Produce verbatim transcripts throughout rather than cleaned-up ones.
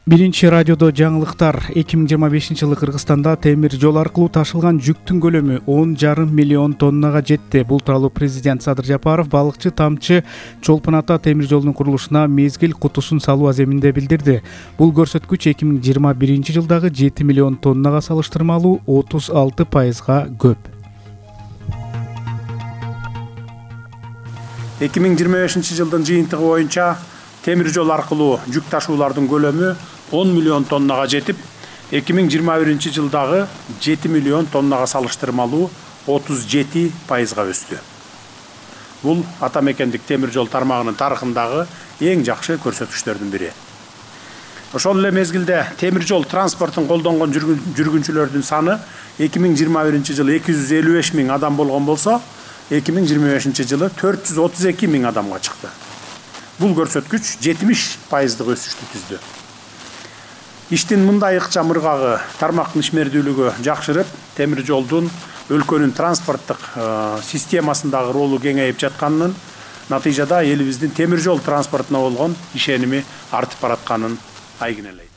Биринчи радиодо жаңылыктар. эки миң жыйырма бешинчи жылы Кыргызстанда темир жол аркылуу ташылган жүктүн көлөмү он жарым миллион тоннага жетти. Бул тууралуу президент Садыр Жапаров балыкчы Тамчы Чолпон ата темир жолунун курулушуна мезгил кутусун салуу аземинде билдирди. Бул көрсөткүч эки миң жыйырма биринчи жылдагы жети миллион тоннага салыштырмалуу отуз алты пайызга көп. эки миң жыйырма бешинчи жылдын жыйынтыгы боюнча темир жол аркылуу жүк ташуулардын көлөмү он миллион тоннага жетип, эки миң жыйырма биринчи жылдагы жети миллион тоннага салыштырмалуу отуз жети пайызга өстү. Бул ата мекендик темир жол тармагынын тарыхындагы эң жакшы көрсөткүчтөрдүн бири. Ошол эле мезгилде темир жол транспортун колдонгон жүргүнчүлөрдүн саны эки миң жыйырма биринчи жылы эки жүз элүү беш миң адам болгон болсо, эки миң жыйырма бешинчи жылы төрт жүз отуз эки миң адамга чыкты. Бул көрсөткүч жетимиш пайыздык өсүштү түздү. Иштин мындай ыкчам ыргагы тармактын ишмердүүлүгү жакшырып, темир жолдун өлкөнүн транспорттук системасындагы ролу кеңейип жатканынын натыйжада элибиздин темир жол транспортуна болгон ишеними артып баратканын айгинелейт.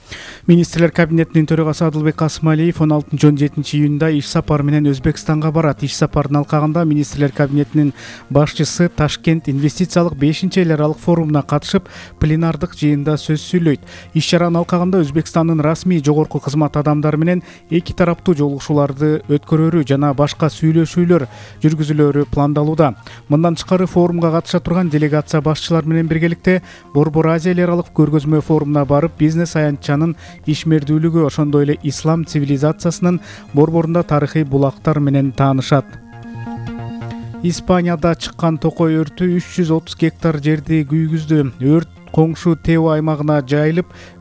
Министрлер кабинетинин төрагасы Адылбек Касымалиев он алтынчы он жетинчи июнда иш сапары менен Өзбекстанга барат. Иш сапарынын алкагында министрлер кабинетинин башчысы Ташкент инвестициялык бешинчи эл аралык форумуна катышып, пленардык жыйында сөз сүйлөйт. Иш чаранын алкагында Өзбекстандын расмий жогорку кызмат адамдары менен эки тараптуу жолугушууларды өткөрөрү жана башка сүйлөшүүлөр жүргүзүлөрү пландалууда. Мындан тышкары форумга катыша турган делегация башчылары менен биргеликте Борбор Азия эл аралык көргөзмө форумуна барып, бизнес аянтчанын ишмердүүлүгү, ошондой эле ислам цивилизациясынын борборунда тарыхый булактар менен таанышат. Испанияда чыккан токой өртү үч жүз отуз гектар жерди күйгүздү. Өрт коңшу Тео аймагына жайылып,